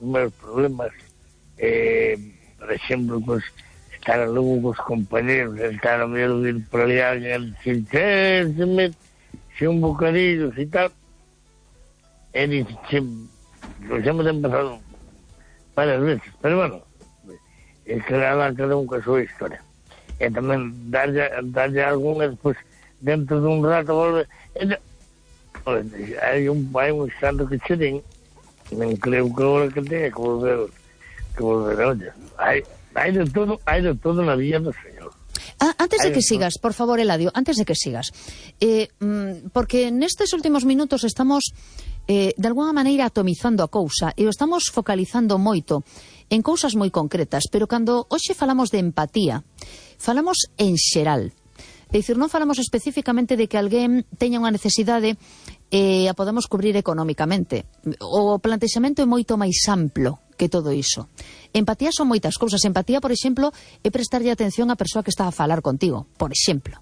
meus problemas, por exemplo, pues, estar logo cos compañeros, estar a medio de ir por ali alguén, se un bocadillo e tal, e dice, nos hemos empezado varias veces, pero bueno, cada un con a súa historia. E tamén darlle algún, e despois, dentro dun rato, volve, hai un instante que che din, non creo que agora que tenha que volver, olla. Hai de todo na vida do Señor. Antes de que sigas, por favor, Eladio, antes de que sigas, porque nestes últimos minutos estamos de alguna maneira atomizando a cousa e o estamos focalizando moito en cousas moi concretas, pero cando hoxe falamos de empatía, falamos en xeral. É dicir, non falamos especificamente de que alguén teña unha necesidade e a podemos cubrir económicamente. O plantexamento é moito máis amplo que todo iso. Empatía son moitas cousas. Empatía, por exemplo, é prestarlle atención á persoa que está a falar contigo, por exemplo.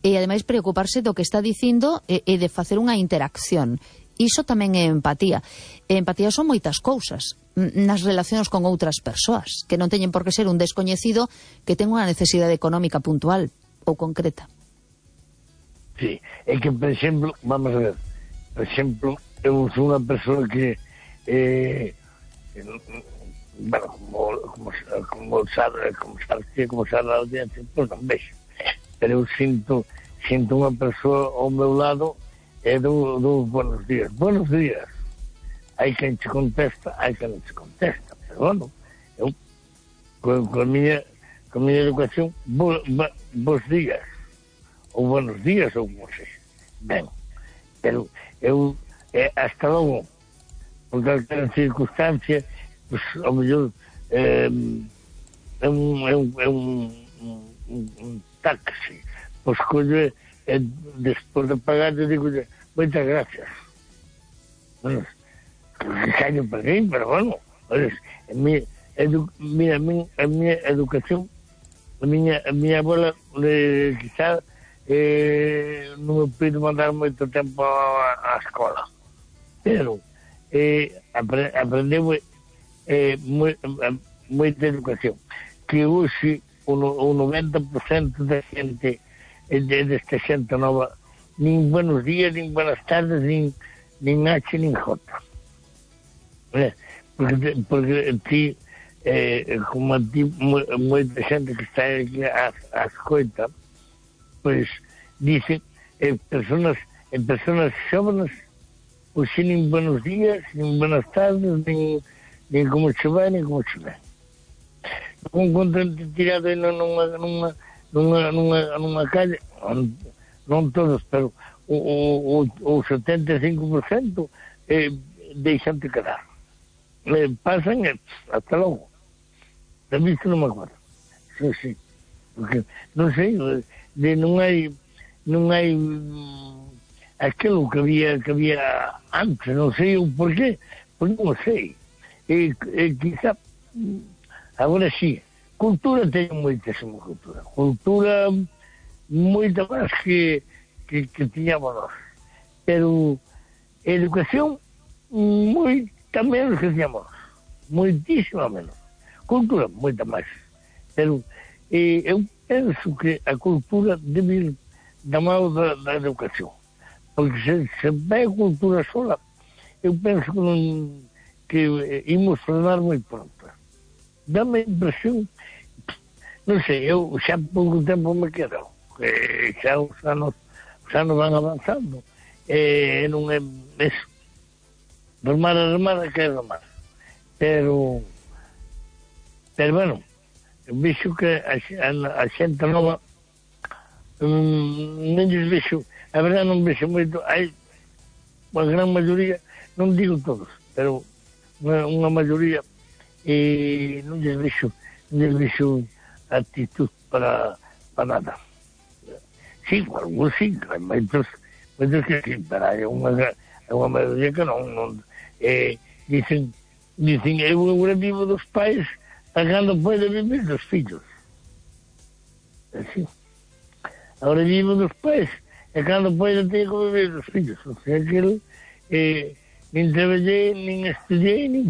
E, ademais, preocuparse do que está dicindo e de facer unha interacción. Iso tamén é empatía. E empatía son moitas cousas nas relacións con outras persoas, que non teñen por que ser un descoñecido que ten unha necesidade económica puntual ou concreta. Sí, é que, por exemplo, vamos a ver, por exemplo, eu sou unha persoa que bueno, como sabe a audiencia, pois non vexo, pero eu sinto unha persoa ao meu lado e do buenos días, hai quen te contesta, hai quen non te contesta, pero bueno, eu con a miña educación, bons días ou buenos días, ou como sei, ben, pero eu hasta logo, por calquera circunstancia, pues, ao mellor é un taxi, pois colle, despois de pagar, eu digo, moitas gracias. Bueno, que caño para mí, pero bueno, a miña educación, a miña abuela, quizá, non me puido mandar moito tempo á escola, pero aprendeu moita educación, que hoxe o 90% da xente desta xente nova, nin buenos días, nin buenas tardes, nin H, nin J, porque ti, como a ti, moita xente que está aquí á escoita, pois dicen, personas xóvenes, pois nin buenos días, nin buenas tardes, nin como che vai, nin como che vai. Un contente tirado nunha calle, non todos, pero o 75% deixante quedar. Pasan e hasta logo. Da vista non me acuerdo. Sí. Porque, non sei, non hai aquilo que había antes, non sei o porqué, porque non sei. Quizá agora sí, cultura teño moitísima cultura moita máis que tiñamos nós, pero educación moita menos que tiñamos, moitísima menos. Cultura moita máis, pero eu penso que a cultura debe ir da mão da educación, porque se vai a cultura sola, eu penso que imos frenar moi pronto. Dá-me a impresión, non sei, eu xa pouco tempo me quedo, xa os anos van avanzando, non é eso, remar que é remar, pero bueno, eu vexo que a xente nova non lles vexo, a verdade non vexo moito, hai a gran maioría, non digo todos, pero unha maioría, e non lles vexo actitud para nada. Sí, algúns sí, hai moitos que sí, pero hai unha maioría que non. Dicen, eu agora vivo dos pais a cando pode vivir dos fillos. Así. Agora vivo dos pais a cando pode ter que vivir dos fillos. O sea, aquilo, nin traballei, nin estudiei, nin